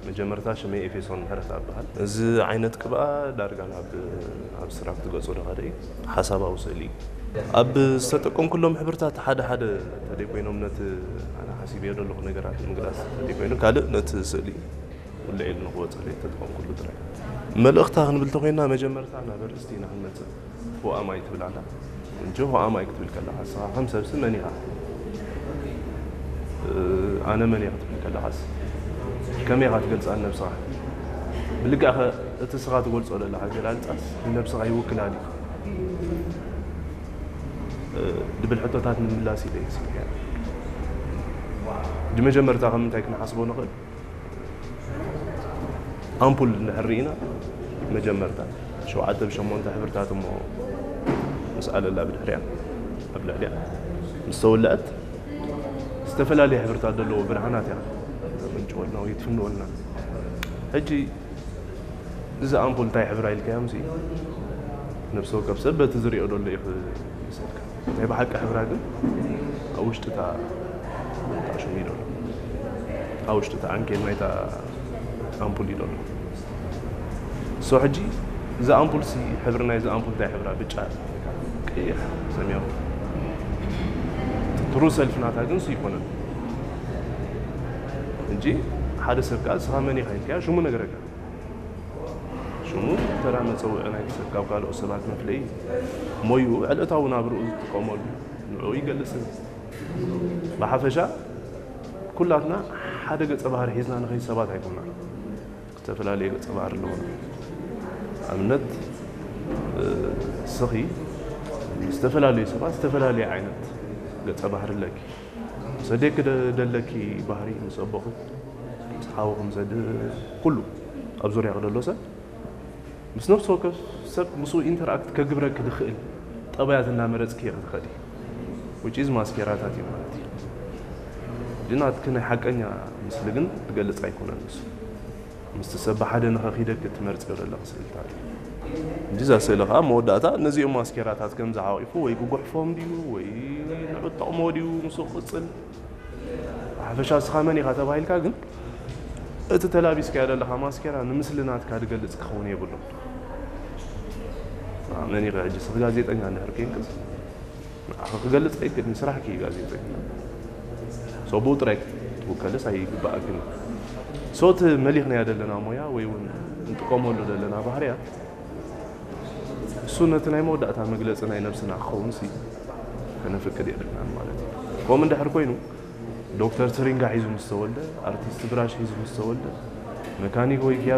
መጀመርታ ሽመይ ኤፌሶን ምሕረት ኣብሃል። እዚ ዓይነት ቅብኣ ዳርጋ ናብ ኣብስትራክት ገጹ ዝኸደ እዩ። ሓሳባዊ ስእሊ እዩ። ኣብ ዝተጠቀምኩሎም ሕብርታት ሓደ ሓደ ተደይ ኮይኖም ነቲ ኣነ ሓሲበዮ ዘለኹ ነገራት ምግላጽ ተደይ ኮይኑ ካልእ ነቲ ስእሊ ውልዕ ኢሉ ንክወጸለይ ተጠቀምኩሉ ጥራይ። መልእኽታ ክንብል ተኮይና መጀመርታ ናብ ኣርእስቲ ኢና ክንመጽእ። Who am I ትብል ኣላ። እንጂ who am I ክትብል ከለኻ ንስኻ ከም ሰብሲ መን ኢኻ? ኣነ መን እየ ክትብል ከለኻስ ከመይ ኢኻ ትገልጻ ንነብስኻ? ብልክዕ እቲ ንስኻ ትገልጾ ዘለኻ ኣገላልጻስ ንነብስኻ ይውክላ ድዩ? ዝብል ሕቶታት ንምምላስ ኢለ እየ ስኢነ። ብመጀመርታ ከም እንታይ ክንሓስቦ ንኽእል? ኣምፑል እንድሕር ርኢና መጀመርታ ሸውዓተ ብሸሞንተ ሕብርታት እሞ ምስ ኣለላ ብድሕሪያ ኣብ ልዕሊያ ምስ ተወልዐት ዝተፈላለየ ሕብርታት ዘለዎ ብርሃናት እያ ተመንጭወልና ወይ ትፍንወልና። ሕጂ እዚ ኣምፑል እንታይ ሕብራ ኢልካዮ ምሲ ነብሲ ወከፍ ሰብ በቲ ዝሪኦ ዘሎ እዩ ክመስለካ። ናይ ብሓቂ ሕብራ ግን ኣብ ውሽጢ እታ እታ ሽሙ እዩ ዘሎ። ኣብ ውሽጢ እታ ዓንኬል ናይታ ኣምፑል እዩ ዘሎ። So ሕጂ እዚ ኣምፑል ሲ ሕብሪ ናይዚ ኣምፑል እንታይ ሕብራ? ብጫ፣ ቀይሕ፣ ሰማያዊ። ትሩ ሰልፍ ናታ ግን ሲ ይኮነን። ሕጂ ሓደ ሰብ ከኣ ንስኻ መን ኢኻ ኢልካዮ ሽሙ ነገረካ። ሽሙ ተራ መጸውዒ ናይቲ ሰብ ካብ ካልኦት ሰባት መፍለዪ እዩ። ሞይኡ ዕለታዊ ናብርኡ ዝጥቀመሉ ንዕኡ ይገልጽ እዩ። ብሓፈሻ ኩላትና ሓደ ገጸ ባህሪ ሒዝና ንኸይድ ሰባት ኣይኮናን። ዝተፈላለየ ገጸ ባህሪ ኣለዎና። ኣብነት ስኺ ዝተፈላለዩ ሰባት ዝተፈላለየ ዓይነት ገጸ ባህሪ ኣለኪ። ምስ ኣዴኪ ደ- ደለኪ ባህሪ ምስ ኣቦኺ ምስ ሓውኺ ምስ ኣደ ኩሉ ኣብ ዙርያኺ ደሎ ሰብ ምስ ነፍሲ ወከፍ ሰብ ምስኡ ኢንተርኣክት ከግብረኪ ዝኽእል ጠባያት እናመረጽኪ ኢኺ ትኸዲ። Which is ማስኬራታት እዩ ማለት እዩ። ግን ናትኪ ናይ ሓቀኛ ምስሊ ግን ትገልጽ ኣይኮነን ንሱ። ምስቲ ሰብ ብሓደ ንኸኺደኪ ትመርጽዮ ዘለኺ ስእልታት እዩ። እንጂ እዛ ስእሊ ከዓ መወዳእታ ነዚኦም ማስኬራታት ከም ዝሓቂፉ ወይ ክጉሕፎም ድዩ ወይ ንዑ ትጠቕሞ ድዩ ምስኡ ክቕጽል ሓፈሻ እስኻ መን ኢኻ ተባሂልካ ግን እቲ ተላቢስካዮ ዘለኻ ማስኬራ ንምስሊ ናትካ ዝገልጽ ክኸውን የብሉን። መን ኢኻ ሕጂ ስኽ ጋዜጠኛ እንድሕር ኮይንክስ ንዓኻ ክገልጽ ኣይክእልን ስራሕኪ እዩ ጋዜጠኛ ሰብኡ ጥራይ ክትውከልስ ኣይግባኣክን። So እቲ መሊኽናዮ ዘለና ሞያ ወይ እውን እንጥቀመሉ ዘለና ባህርያት እሱ ነቲ ናይ መወዳእታ መግለጺ ናይ ነብስና ክኸውን ሲ ከነፍቅድ የብልናን ማለት እዩ። ከምኡ እንድሕር ኮይኑ ዶክተር ትሪንጋ ሒዙ ምስ ተወልደ፣ ኣርቲስት ብራሽ ሒዙ ምስ ተወልደ፣ መካኒክ ወይ